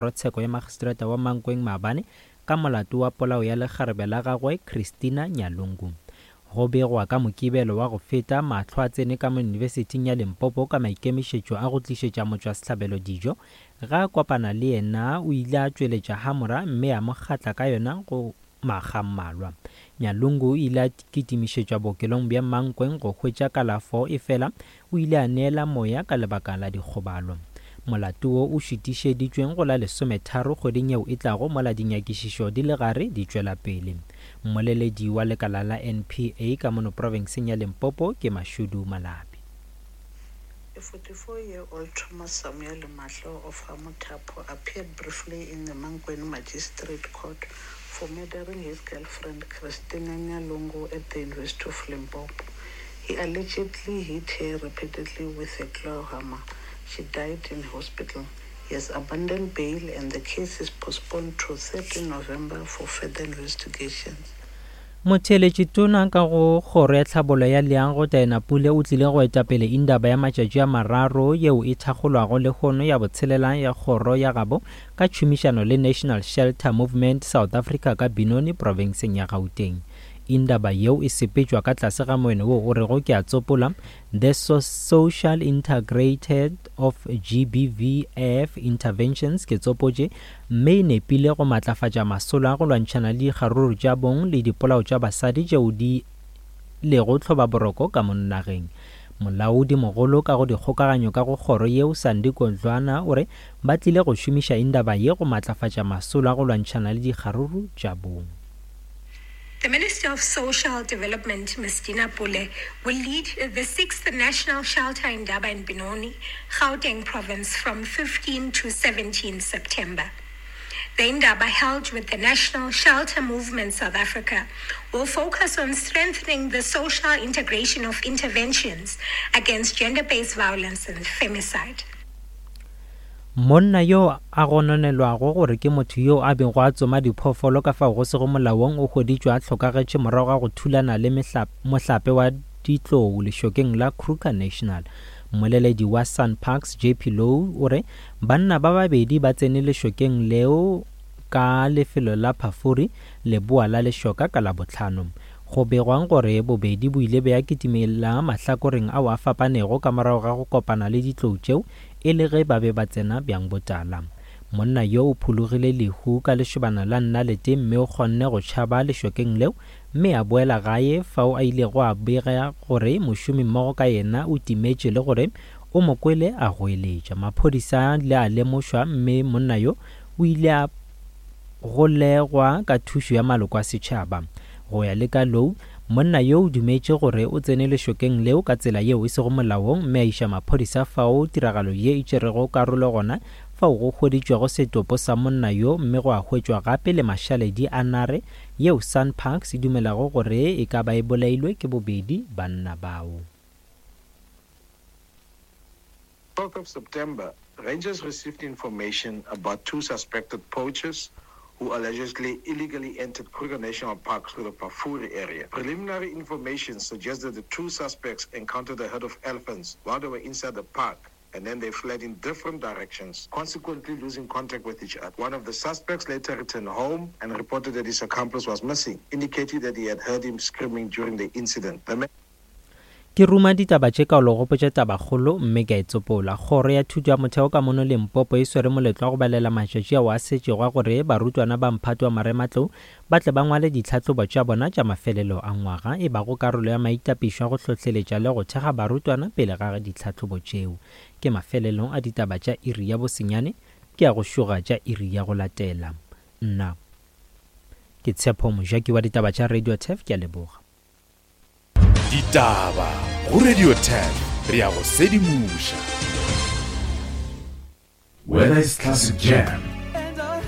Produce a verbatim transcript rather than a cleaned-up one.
Kgorotsheko ya Magistrata wa Mankweng maabane ka molato wa polao ya lekgarebe la gagwe Christina Nyalungu. Go begwa ka Mokibelo wa go feta, mahlo a tsene ka mo Yunibesithing ya Limpopo ka maikemišetšo a go tlišetša motšwasehlabelo dijo. Ge a kopana le yena o ile a tšweletša hamora mme a mo kgatla ka yona go makga a mmalwa. Nyalungu o ile a kitimišetšwa bookelong bja Mankweng go hwetša kalafo efela o ile a neela moya ka lebaka la dikgobalo. Molato wo o šutišeditšweng go la lesometharo kgweding yeo e tlago mola dinyakišišo di le gare di tšwela pele. Mmoleledi wa lekala la N P A ka mono profenseng ya Limpopo ke Mashudu Malabi. A forty-four-year-old Thomas Samuel Mahlo of Hamutapho appeared briefly in the Mankweng Magistrate Court for murdering his girlfriend Christina Nyalungu at the University of Limpopo. He allegedly hit her repeatedly with a claw hammer. She died in hospital. He has abandoned bail and the case is postponed to thirteenth November for further investigations. Motheeletši tona ka go kgoro ya tlhabollo ya leago Diana Pule o tlile go etapele indaba ya matšatši a mararo yeo e thakgolwago lehono ya botshelela ya kgoro ya gabo ka tšhomišano le National Shelter Movement South Africa ka Benoni profenseng ya Gauteng. Indaba yeo e sepetšwa ka tlase ga moeno wo o rego ke a tsopola The so Social Integrated of G B V F Interventions ke tsopotše mme e nepile go matlafatša masolo a go lwantšhana le dikgaruru tša bong le dipolao tša basadi tšeo di lego tlhobaboroko ka mo nageng. Molaodi mogolo ka go dikgokaganyo ka go kgoro yeo Sandy Kodlwana o re ba tlile go šomiša indaba ye go matlafatša masolo a go lwantšhana le dikgaruru tša bong. The Minister of Social Development, Miz Dina Pule, will lead the sixth National Shelter Indaba in Benoni, Gauteng Province, from fifteenth to seventeenth September. The Indaba, held with the National Shelter Movement South Africa, will focus on strengthening the social integration of interventions against gender-based violence and femicide. Monna yo a gononelwago gore ke motho yo a bego a tsoma diphoofolo ka fao go sego molaong o hweditšwe a hlokagetše morago ga go thulana le mohlape wa ditlou lešokeng la Kruger National. Mmoleledi wa SANParks J P Louw o re banna ba babedi ba tsene lešokeng leo ka lefelo la Phafuri leboa la lešoka ka Labohlano. Go begwang gore bobedi bo ile bja kitimela mahlakoreng ao a fapanego ka morago ga go kopana le ditlou tšeo e le ge ba be ba tsena bjang botala. Monna yo o phologile lehu ka lešobana la nnalete mme o kgonne go tšhaba lešokeng leo mme a boela gae fao a ilego a bega gore mošomi mmogo ka yena o timetše le gore o mo kwele a goeletša. Maphodisa le a lemošwa mme monna yo o ile a golegwa ka thušo ya maloko a setšhaba. Go ya le ka Louw, monna yo o dumetše gore o tsene lešokeng leo ka tsela yeo e sego molaong mme a iša maphodisa fao tiragalo ye e tšerego karolo gona fao go hweditšwego setopo sa monna yo mme go a hwetšwa gape le mašaledi a nare yeo SANParks e dumelago gore e ka ba e bolailwe ke bobedi banna bao. twelfth of September, Rangers received information about two suspected poachers who allegedly illegally entered Kruger National Park through the Pafuri area. Preliminary information suggests that the two suspects encountered a herd of elephants while they were inside the park, and then they fled in different directions, consequently losing contact with each other. One of the suspects later returned home and reported that his accomplice was missing, indicating that he had heard him screaming during the incident. The man Ke ruma ditaba tše ka o le gopotša tabakgolo mme ke a e tsopola. Kgoro ya thuto ya motheo ka mono Limpopo e swere moletlo wa go balela matšatši ao a setšego a gore barutwana ba mphato wa marematlou ba tle ba ngwale ditlhahlobo tša bona tša mafelelo a ngwaga e bago karolo ya maitapišo a go hlohleletša le go thekga barutwana pele ga ditlhahlobo tšeo. Ke mafelelong a ditaba tša iri ya bosenyane ke a go šoga tša iri ya go latela. Nna ke Tshepo Mojaki wa ditaba tša Radio Turf, ke a leboga. Ditaba go Radio Turf, re ya go sedimoša. Whether it's classic jams,